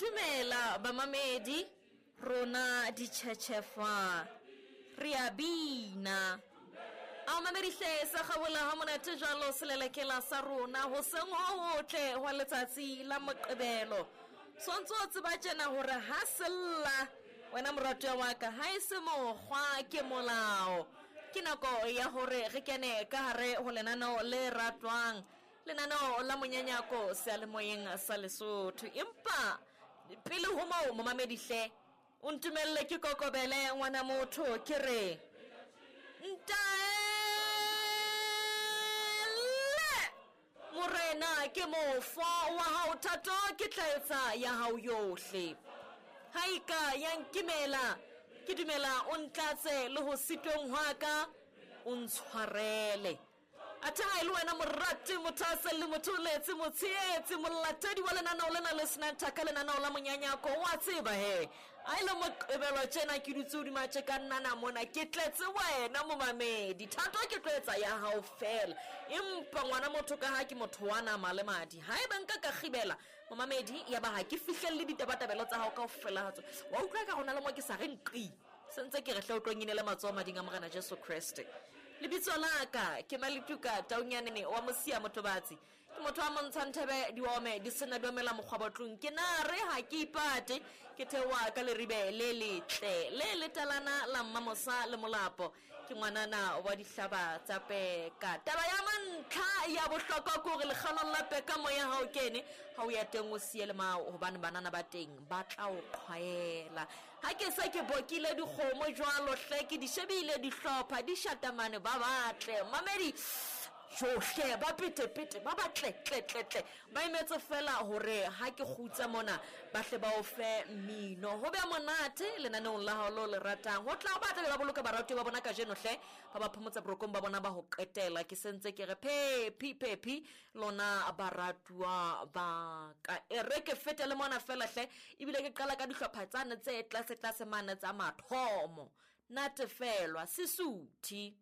Dumela bamamedi, rona ditšhetšhefa re a bina. A mamedi hle sa gabola ha monate jalo selelekela sa rona hoseng ho hotle hwa letsatsi la Moqebelo. Swantse o tseba tjena hore ha sella wena moratuwa wa ka ha e se mokgwa ke molao. Ke nako ya hore re kene ka hare ho lenaneo le ratwang lenaneo la monyanyako seyalemoyeng sa Lesotho. Empa pele ho moo momamedi hle o ntumelle ke kokobele ngwana motho ke re ntaele morena ke mofo wa hao thato ke tla etsa ya hao yohle ha e ka ya nkimela ke dumela o ntlatse le ho sitweng hwa ka o ntshwarele. Athe ha e le wena morati, mothahaselli, motholetsi, motshehetsi, molatedi wa lenaneo lena le senang thaka, lenaneo la monyanyako, wa tseba he a e le Moqebelo tjena ke dutse hodima tje ka nnana mona ke tletse wena momamedi. Thato ke tlo etsa ya hao fela, empa ngwana motho ka ha ke motho wa nama le madi, ha eba nka ka kgibela momamedi ya ba ha ke fihlelle ditabatabelo tsa hao kaofela ha tsona. Wa utlwa ka rona le mo ke sa re nqi sentse ke re hle o tlo nginele matsoho mading a Morena Jesu Kreste. Lebitso la ka ke Malituka Taunyanene wa Mosia Motobatsi. Ke motho wa montshang thebe diome di sena diomela mokgwabotlong. Ke na re ha ke ipate ke theoha ka leribe le letle le letalana la Mmamosa le Molapo. Ke ngwanana wa dihlaba tsa peka. Taba ya mantlha ya bohlokwa ke hore lekgalong la peka moya ha o kene, ha o ya teng o siye le mao hobane banana ba teng ba tla o qhwaela. Ha ke se ke bokile dikgomo jwalo hle ke di shebile dihlopha di shatamane ba batle mamedi johle ba petepete ba batle tle tle tle ba emetse fela hore ha ke kgutsa mona ba hle ba o fe mmino ho be monate lenaneong la hao lo le ratang. Ho tla ba tla be ba boloka baratuwa ba bona kajeno hle ba ba phomotsa borokong ba bona ba ho qetela. Ke sentse ke re phephi phephi lona baratuwa ba ka. E re ke fete le mona fela hle ebile ke qala ka dihlopha tsane tse tlase tlase mane tsa mathomo. Natefelwa Sesuthi.